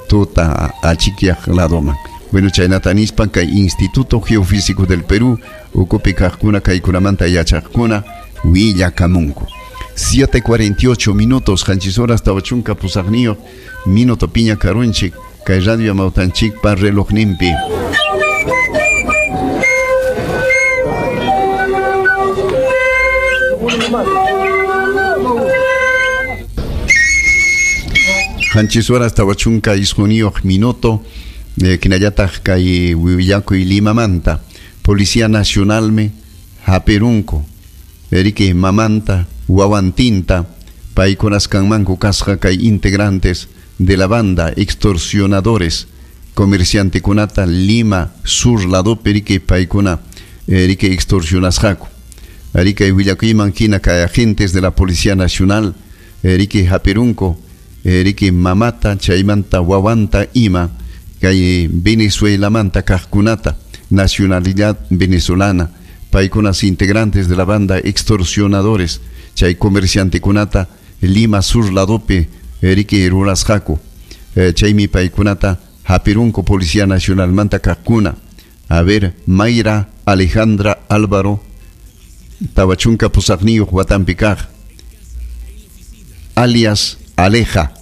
tuta achikyaq ladoman. Bueno, chaynata nispan kay Instituto Geofísico del Perú ukupi kaqkuna kaykunamanta yachaqkuna willakamunku. siete cuarenta y ocho minutos, qanchis horas tawa chunka pusaqniyuq minuto piña karunchik kay radio amawtanchikpa relojninpi. Qanchis horas tawa chunka isquniyuq minuto, eh, kinallataq kay willakuy Limamanta Policía Nacionalmi hapirunku eriki mamanta wawantinta paykunas kanmanku kasqa kay integrantes de la banda extorsionadores comerciantekunata Lima Sur ladopi riki paykuna riki extorsionasqaku. Riki willakuyman hina kay agentes de la Policía Nacional riki hapirunku riki mamata chaymanta wawanta ima kay Venezuelamanta kaqkunata nacionalidad venezolana paykunas integrantes de la banda extorsionadores chay comerciantekunata Lima Sur ladopi riki rurasqaku. Chaymi paykunata hapirunku Policía Nacionalmanta kaqkuna. A ver, Mayra Alejandra Álvaro tawa chunka pusaqniyuq watanpi kaq alias Aleja,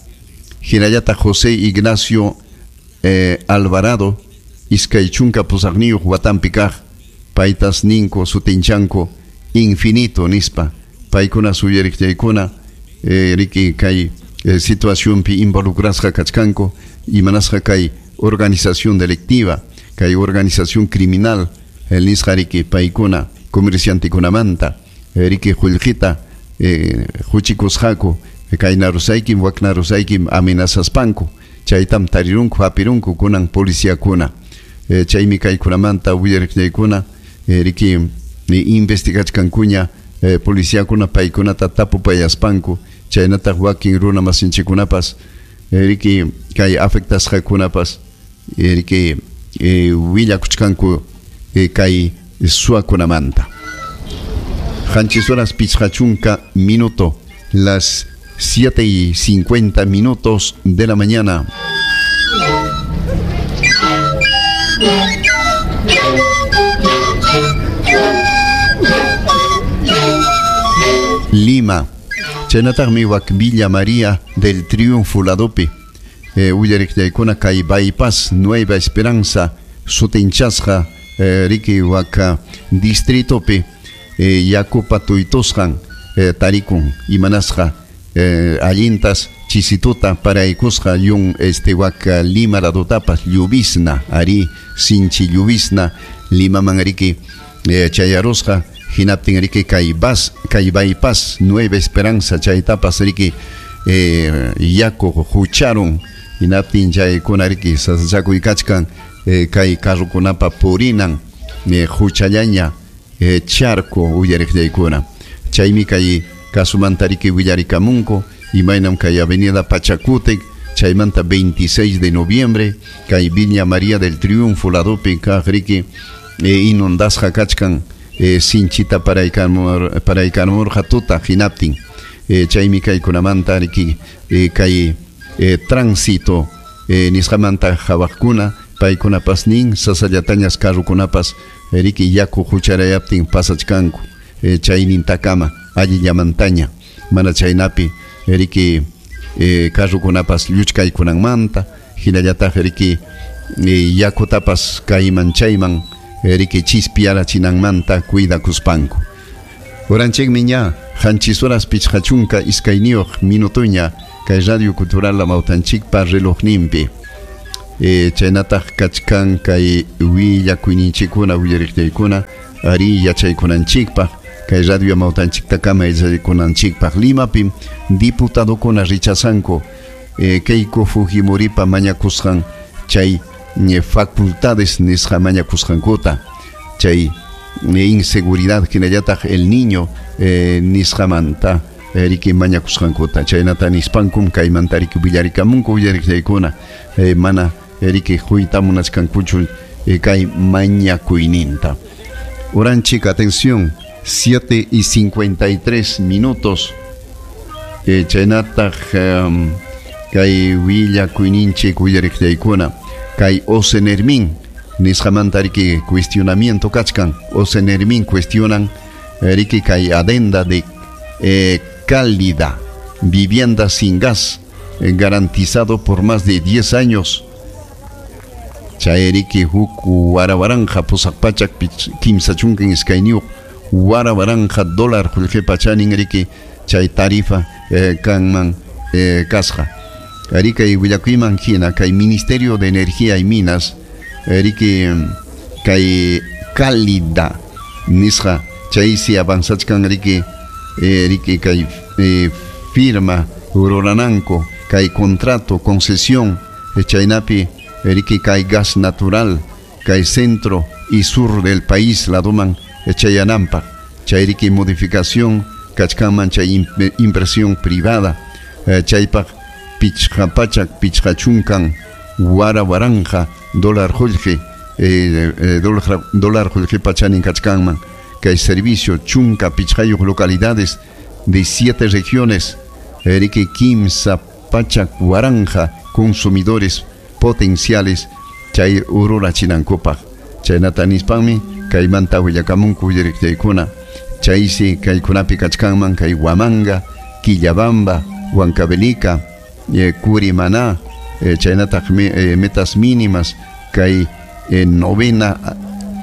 hinallataq José Ignacio eh, Alvarado iskay chunka pusaqniyuq watanpi kaq paytas ninku sutinchanku infinito nispa paykuna suyariqchaykuna eh, riki kay eh, situacionpi involucrasqa kachkanku imanasqa kay organización delictiva kay organización criminal el nisqa riki paykuna comerciantekunamanta riki qullqita eh, huchikusqaku kayna rusaykim wakna rusaykim amenazaspanku chaytam tarirunku hapirunku kunan policiakuna. Eh, chaymi kaykunamanta willariqchaykuna eh, riki eh, investigachkankuña eh, policiakuna paykunata tapupayaspanku chaynataq wakin runa masinchikkunapas eh, riki kay afectasqakunapas eh, riki eh, willakuchkanku eh, kay suakunamanta. Qanchis horas pichqa chunka minuto, las siete y cincuenta minutos de la mañana. Lima, chaynataqmi wak Villa María del Triunfo ladopi eh, willariqchaykuna kay Bypass Nueva Esperanza sutinchasqa eh, riki wak distritopi eh, yakupa tuytusqan eh, tarikun imanasqa eh, allintas chisituta paraykusqa yun este wak Lima ladotapas lluvisna ari sinchi lluvisna Limaman riki eh, chayarusqa hinaptin riki kay bas kay Bypass Nueva Esperanza chaytapas riki eh, yaku hucharun hinaptin chaykuna riki sasachakuykachkan eh, kay carrukunapa purinan eh, huchallaña eh, charco uyariqchaykuna chaymi kay kasumanta riki willarikamunku imaynam kay Avenida Pachacútec chaymanta veintiséis de noviembre kay Villa María del Triunfo ladopi kaq riki eh, inundasqa kachkan eh, sinchita paraykamur paraykamurqa tuta hinaptin eh, chaymi kaykunamanta riki eh, kay eh, tránsito eh, nisqamanta hawaqkuna paykunapas nin sasallatañas carrukunapas riki yaku hucharayaptin pasachkanku eh, chaynintakama allillamantaña mana chaynapi riki eh, carrukunapas lluchkaykunanmanta hinallataq riki eh, yakutapas kayman chayman riki chispiarachinanmanta cuidakuspanku. Oranchikmi ña qanchis horas pichqa chunka iskayniyuq minutuña Kay Radio Cultural Amautanchikpa relojninpi. Eh, chaynataq kachkan kay willakuyninchikkuna willariqtaykuna ari yachaykunanchikpaq kay Radio Amautanchiktakama yachaykunanchikpaq Limapim diputadokuna rechazanku eh, Keiko Fujimoripa mañakusqan chay eh, facultades nisqa mañakusqankuta chay eh, inseguridad hinallataq el niño eh, nisqamanta riki mañakusqankuta chaynata nispankum kaymanta riki willarikamunku willariqtaykuna eh, mana riki huyta munachkankuchu eh, kay mañakuyninta. Oranchik, atención, siete y cincuenta y tres minutos. Eh, chaynataq um, kay willakuyninchik willariqtaykuna kay Osenermin nisqamanta riki cuestionamiento kachkan. Osenermin cuestionan riki kay adenda de eh, cálida, vivienda sin gas eh, garantizado por más de diez años. Chayriki huk warawaranja pusaq pachak kimsa chunkan iskayniyuq warawaranja dólar qullqipa chanin riki chay tarifa eh, kanman eh, kasqa. Riki willakuyman hina kay Ministerio de Energía y Minas riki kay cálida nisqa chaysi avanzachkan riki eh, riki kay eh, firma rurananku kay contrato concesión eh, chaynapi riki kay gas natural kay centro y sur del país laduman chayanampa chay riki modificación kachkanman chay inversión privada eh, chaypaq pichqa pachak pichqa chunkan wara waranja dólar qullqi eh, eh, dólar, dólar qullqipa chanin kachkanman kay servicio chunka pichqayuq localidades de siete regiones riki kimsa pachak waranja consumidores potenciales chay ururachinankupaq chaynata nispanmi kaymanta willakamunku willariqtaykuna chaysi kaykunapi kachkanman kay Huamanga, Quillabamba, Huancavelica, eh, Curimaná, eh, chaynataq eh, metas mínimas kay eh, novena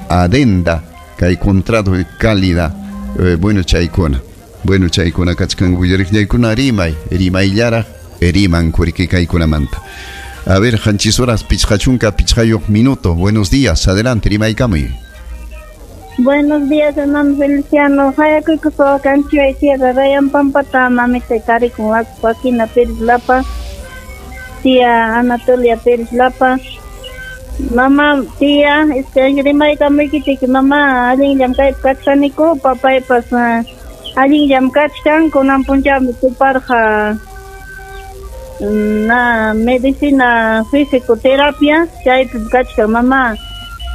adenda kay contrato de cálida eh, bueno chaykuna bueno chaykuna kachkan willariqtaykuna rimay rimayllaraq riman kuriki kaykunamanta. A ver, qanchis horas pichqachunka pichqayuq minuto. Buenos días, adelante, rimaykamuy. Buenos días, hermano Feliciano. Hayakuykupa kanchiway tierra Rayan Pampata, mamita tarikun Joaquina Pérez Lapa, tía Anatolia Pérez Lapa. Mamá, tía, este rimaykamuykichik, mamá, allinllam kaypi kachkaniku, papaypas allinllam kachkan, kunan punchawmi tuparqa na medicina fisioterapia chaypi kachkan mamá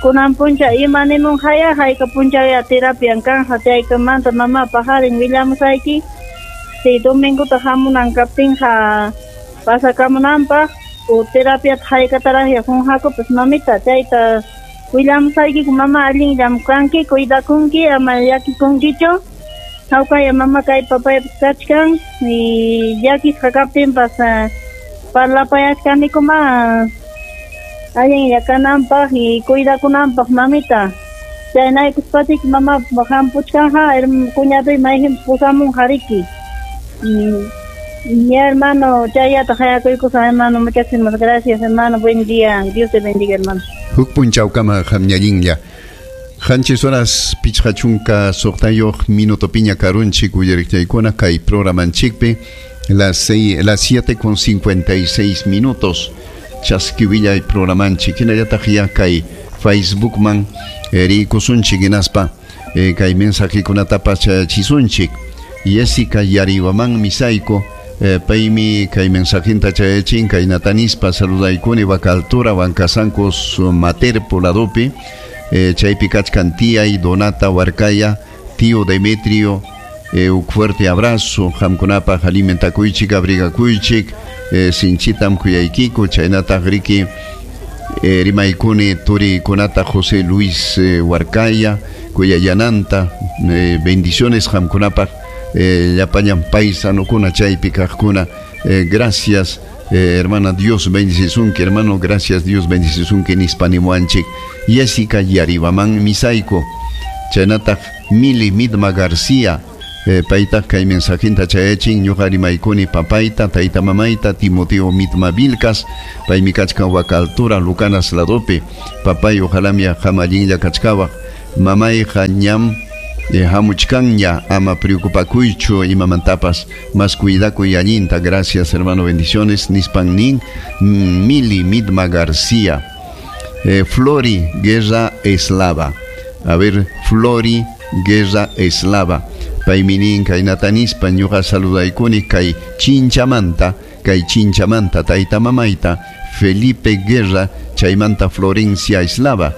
kunan puncha ima nimunqaya hayka punchaya terapian kanja chaykamanta mamá pajarin willamusayki si domingota hamunan kaptinqa pasakamunanpaq o terapiata haykataraqya qunqakupas mamita chayta willamusaykiku mamá allinllam kanki cuidakunki ama llakikunkichu hawkaya mama kay papaypas kachkan y llakisqa kaptinpas parlapayachkanikuma allinlla kananpaq y cuidakunanpaq mamita chaynaykuspachik mama hampuchkanja cuñaduy mayhinpas pusamunqa riki. Mi hermano chayata hayakuykusa hermano, muchísimas gracias hermano, buen día, Dios te bendiga hermano. Huk punchawkama qamñallinlla. Qanchis horas pichqa chunka suqtayuq minuto piña karunchik willariqtaykuna kay programanchikpi las seis, las siete con cincuenta y seis minutos chaskiwillay programanchik hinallataq ya kay Facebookman rikusunchik hinaspa eh, kay mensajekunatapas chayachisunchik Jessica Yariwaman misayku eh, paymi kay mensajinta chayachin kay natanispa saludaykuni Huaca Altura Huancasancos Materpo ladopi Eh, chaypi kachkan tía y Donata Huarcaya, tío Demetrio, eh, un fuerte abrazo, qamkunapaq alimentakuychik, abrigakuychik, eh, sinchitam kuyaykiku, chaynataq riki eh, rimaykuni turikunata José Luis eh, Huarcaya, kuyayananta, eh, bendiciones qamkunapaq, eh, llapallan paisanukuna chaypi kaqkuna, eh, gracias. Eh, hermana, Dios bendicisunki, hermano, gracias, Dios bendicisunki, nispanimuanchik. Jessica Yaribaman Misayku, chaynataq Mili Midma García, Eh, paytaq kay mensajinta chayachin ñuqa rimaykuni papayta tayta mamayta Timoteo Mitma Vilcas paymi kachkan waka altura Lucanas ladopi papay ojalá mi qam allinlla kachkawaq mamayqa ñam eh, hamuchkanña ama preocupakuychu imamantapas mas cuidakuy allinta gracias hermano bendiciones nispan nin Mili Mitma García eh, Flori Guerra Eslava a ver Flori Guerra Eslava paymi nin kaynata nispa ñuqa saludaykuni kay Chinchamanta kay Chinchamanta tayta mamayta Felipe Guerra chaymanta Florencia Eslava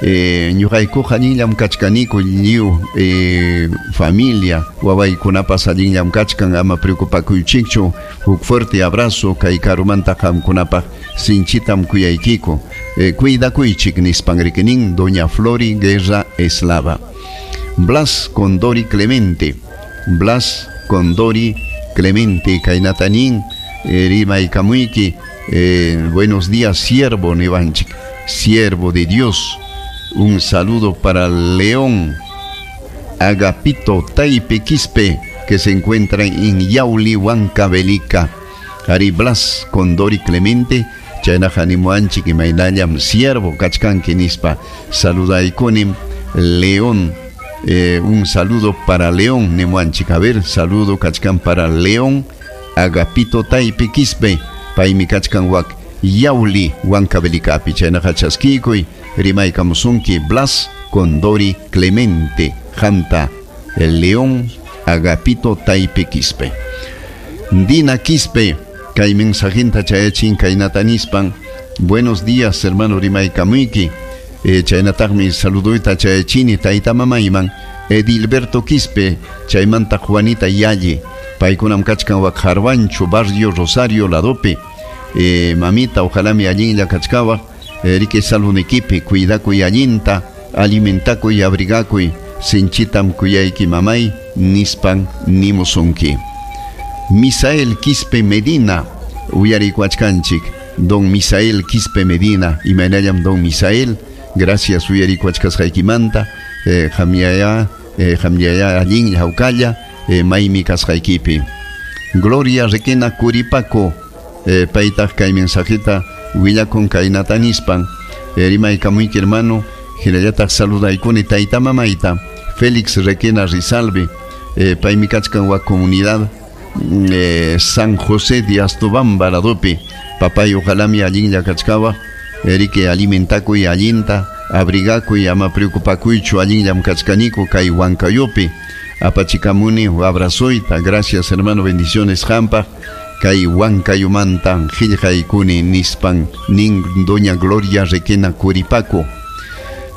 eh, ñuqaykuqa allinllam kachkaniku lliw eh, familia wawaykunapas allinllam kachkan ama preocupakuychikchu huk fuerte abrazo kay karumanta qamkunapaq sinchitam kuyaykiku eh, cuidakuychik nispan rikinin doña Flori Guerra Eslava Blas Condori Clemente Blas Condori Clemente kaynata nin eh, rimaykamuyki eh, buenos días siervo niwanchik siervo de Dios un saludo para León Agapito Taipe Quispe que se encuentra en Yauli Huancavelica Ari Blas Condori Clemente chaynaqa nimuwanchik imaynallam siervo kachkanki nispa saludaykunim León eh, un saludo para León nimuwanchik a ver saludo kachkan para León Agapito Taipe Quispe paymi kachkan wak Yauli Huancavelicapi chaynaqa chaskiykuy rimaykamusunki Blas Condori Clemente Janta el León Agapito Taipe Quispe Dina Quispe kay mensajinta chayachin kaynata nispan buenos días hermano rimaykamuyki eh, chaynataqmi saluduyta chayachini tayta mamayman Edilberto Quispe chaymanta Juanita Yalle paykunam kachkan wak Jarwancho barrio Rosario ladopi eh, mamita ojalá mi allinlla kachkawaq eh, riki salunikipi cuidakuy allinta alimentakuy abrigakuy sinchitam kuyayki mamay nispan nimusunki Misael Quispe Medina uyarikuachkanchik don Misael Quispe Medina imaynallam don Misael gracias uyarikuachkasqaykimanta eh, qamllaya eh, qamllaya allinlla hawkalla eh, maymi kasqaykipi Gloria Requena Curipaco eh, paytaq kay mensajita willakun kaynata nispan eh, rimaykamuyki hermano hinallataq saludaykuni tayta mamayta Félix Requena Rizalbe eh, paymi kachkan wak comunidad eh, San José de Astobamba ladopi papay ojalá mi allinlla kachkawaq riki alimentakuy allinta abrigakuy ama preocupakuychu allinllam kachkaniku kay Huancayopi apachikamuni abrazoyta gracias hermano bendiciones qampaq kay Huancayomanta qillqaykuni nispan nin doña Gloria Requena Curipaco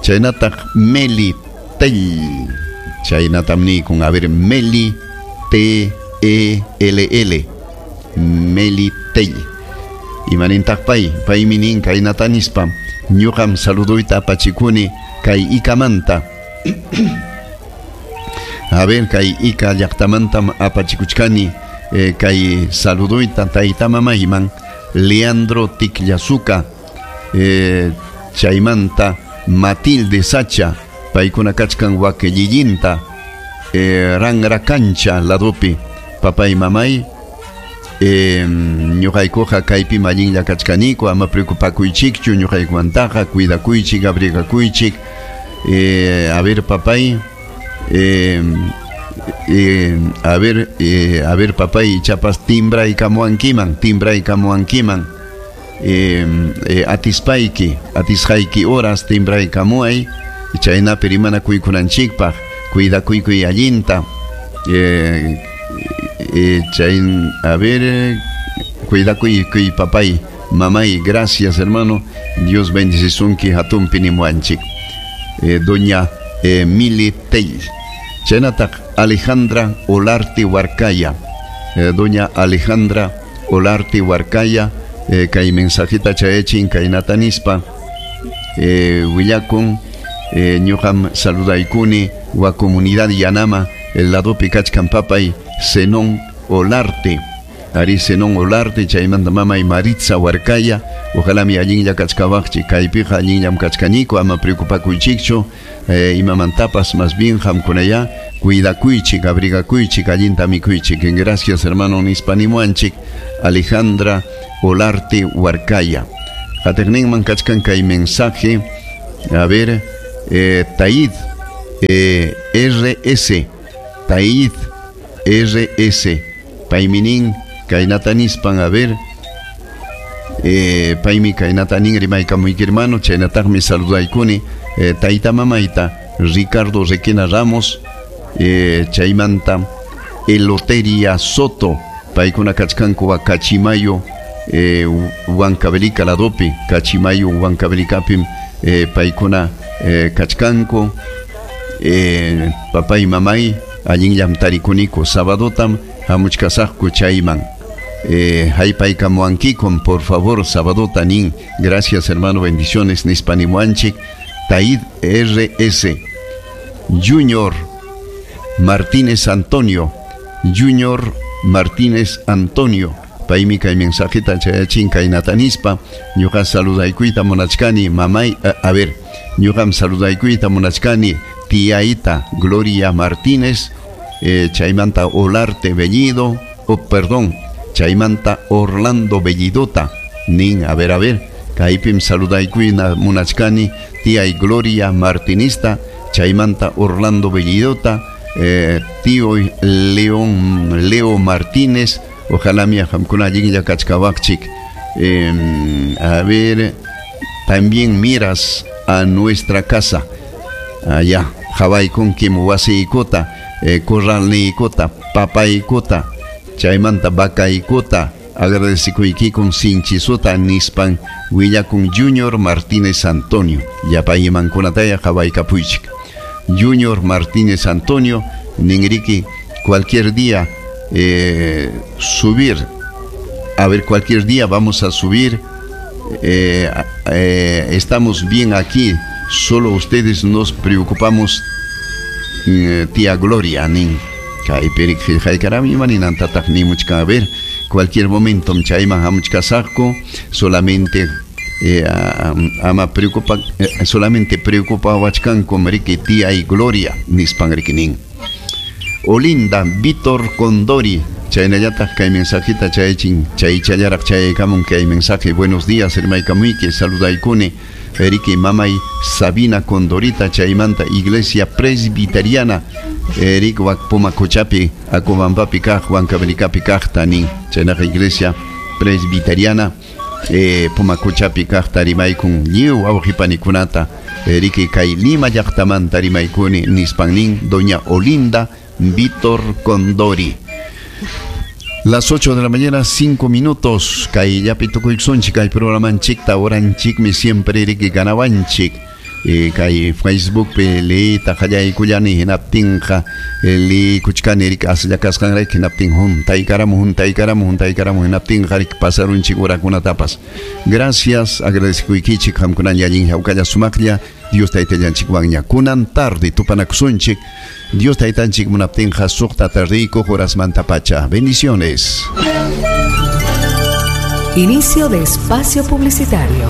chaynataq Meli Tell chaynatam nikun a ver Meli T E L L Meli Tell imanintaq pay paymi nin kaynata nispa ñuqam saluduyta apachikuni kay Ikamanta a ver kay Ika llaqtamantam apachikuchkani eh, kay saluduyta tayta mamayman Leandro Ticllasuca eh, chaymanta Matilde Sacha paykuna kachkan wakellillinta eh, Rangracancha ladopi papay mamay eh, ñuqaykuqa kaypi allinlla kachkaniku ama preocupakuychikchu ñuqaykumantaqa cuidakuychik abrigakuychik eh, a ver papay eh, eh, a ver eh, a ver papay ichapas timbraykamuwankiman timbraykamuwankiman eh, eh, atispayki atisqayki horas timbraykamuway chaynapi rimanakuykunanchikpaq cuidakuykuy allinta eh, eh, chayn, a ver cuidakuy kuy papay mamay gracias hermano Dios bendicisunki hatunpi nimuwanchik eh, doña eh, Mili Tell chaynataq Alejandra Olarte Huarcaya eh, doña Alejandra Olarte Huarcaya eh, kay mensajita chayachin kaynata nispa eh, willakun eh, ñuqam saludaykuni wa comunidad Yanama el ladopi kachkan papay Zenón Olarte ari Zenón Olarte chaymanta mamay Maritza Huarcaya ojalá mi allinlla kachkawaqchik kaypiqa allinllam kachkaniku ama preocupakuychikchu eh, imamantapas más bien qamkunaya Cuidakuychik, abrigakuychik, allinta mikuychik. Gracias, hermano nispanimuanchik Alejandra Olarte Huarcaya. Qatiqninman kachkan kay mensaje. A ver, eh, Taid eh, R S, Taid R S, payminin kaynata nispan, a ver, eh, paymi kaynata nin rimaykamuyki hermano, chaynataqmi saludaykuni eh, tayta mamayta Ricardo Requena Ramos, eh, chaymanta Eloteria Soto, paykuna kachkanku Cachimayo, eh, Huancavelica ladopi, Cachimayo Huancavelicapim, eh, paykuna eh, kachkanku, eh, papay mamay allinllam tarikuniku, sabadotam hamuchkasaqku chayman. Eh, haypaykamuankikum, por favor, sabadota nin. Gracias, hermano, bendiciones nispanimuanchik. Taid R S, Junior Martínez Antonio, Junior Martínez Antonio, paymi kay mensajita chayachin kaynata nispa, ñuqa saludaykuyta munachkani mamay, a, a ver, ñuqam saludaykuyta munachkani tiaita Gloria Martínez, eh, chaymanta Olarte Bellido, oh, perdón, chaymanta Orlando Bellidota, nin, a ver, a ver, kaypim saludaykuyta munachkani tiay Gloria Martinista, chaymanta Orlando Bellidota, eh, tío León Leo Martínez, ojalá mi qamkuna allinlla kachkawaqchik. Eh, a ver, también miras a nuestra casa allá, qhawaykunkim wasiykota, eh, corralniykota, papaykota, chaymanta vacaykota, agradecikuykikun sinchisota nispan willakun Junior Martínez Antonio, llapaymankunataya qhawaykapuychik. Junior Martínez Antonio, ninriki, cualquier día eh, subir, a ver, cualquier día vamos a subir, eh, eh, estamos bien aquí, solo ustedes nos preocupamos, eh, tía Gloria, nin, a ver, cualquier momento chayman hamuchkasaqku, solamente eh, ama preocupa, eh, solamente preocupawachkanku riki tía y Gloria nispan riki nin. Olinda Víctor Condori, chaynallataq kay mensajita chayachin, chaychallaraq chayaykamun kay mensaje. Buenos días, hermaykamuyki, saludaykuni riki mamay Sabina Condorita, chaymanta Iglesia Presbiteriana, Eric Pumacochapi, Acobambapi kaq, Huancavelicapi kaq tanin, chaynaqa Iglesia Presbiteriana, eh, Pumacochapi kaq tarimaykun lliw wawqipanikunata, riki kay Lima llaqtamanta rimaykuni nispan nin doña Olinda Víctor Condori. Las ocho de la mañana, cinco minutos. Kay llapi tukuysunchik kay programanchikta oranchikmi siempre riki ganawanchik. Eh, kay Facebook pe leeyta qallaykullani hinaptinqa liykuchkani riki aslla kasqanrayku hinaptin juntaykaramu juntaykaramu juntaykaramu hinaptinqa riki pasarunchik urakunatapas. Gracias, agradecikuykichik qamkunalla allin hawkalla sumaqlla Dios taytallanchikwanña kunan tarde tupanakusunchik. Dios taytanchik munaptinqa suqta tardiykuq horasmanta pacha. Bendiciones. Inicio de espacio publicitario.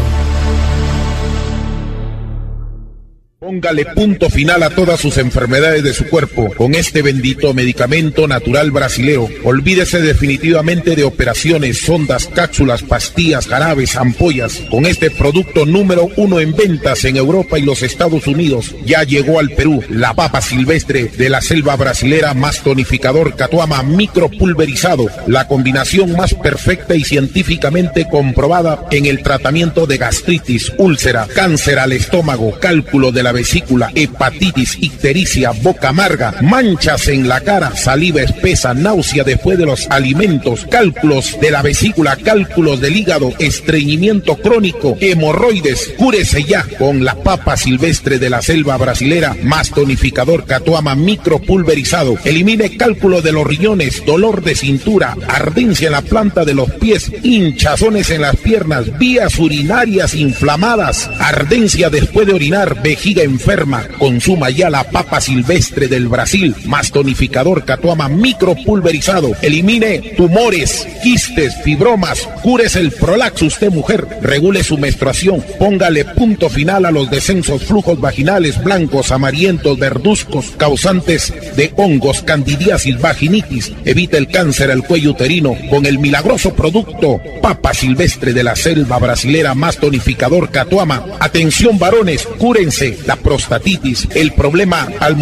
Póngale punto final a todas sus enfermedades de su cuerpo con este bendito medicamento natural brasileo. Olvídese definitivamente de operaciones, sondas, cápsulas, pastillas, jarabes, ampollas. Con este producto número uno en ventas en Europa y los Estados Unidos, ya llegó al Perú la papa silvestre de la selva brasilera más tonificador Catuama micropulverizado, la combinación más perfecta y científicamente comprobada en el tratamiento de gastritis, úlcera, cáncer al estómago, cálculo de la vesícula, hepatitis, ictericia, boca amarga, manchas en la cara, saliva espesa, náusea después de los alimentos, cálculos de la vesícula, cálculos del hígado, estreñimiento crónico, hemorroides. Cúrese ya con la papa silvestre de la selva brasilera más tonificador Catuama micropulverizado. Elimine cálculo de los riñones, dolor de cintura, ardencia en la planta de los pies, hinchazones en las piernas, vías urinarias inflamadas, ardencia después de orinar, vejiga enferma, consuma ya la papa silvestre del Brasil, más tonificador Catuama micropulverizado. Elimine tumores, quistes, fibromas, cúrese el prolaxo usted mujer, regule su menstruación, póngale punto final a los descensos, flujos vaginales blancos, amarillentos, verduzcos, causantes de hongos, candidiasis, vaginitis. Evite el cáncer al cuello uterino con el milagroso producto papa silvestre de la selva brasilera más tonificador Catuama. Atención varones, cúrense la prostatitis, el problema al momento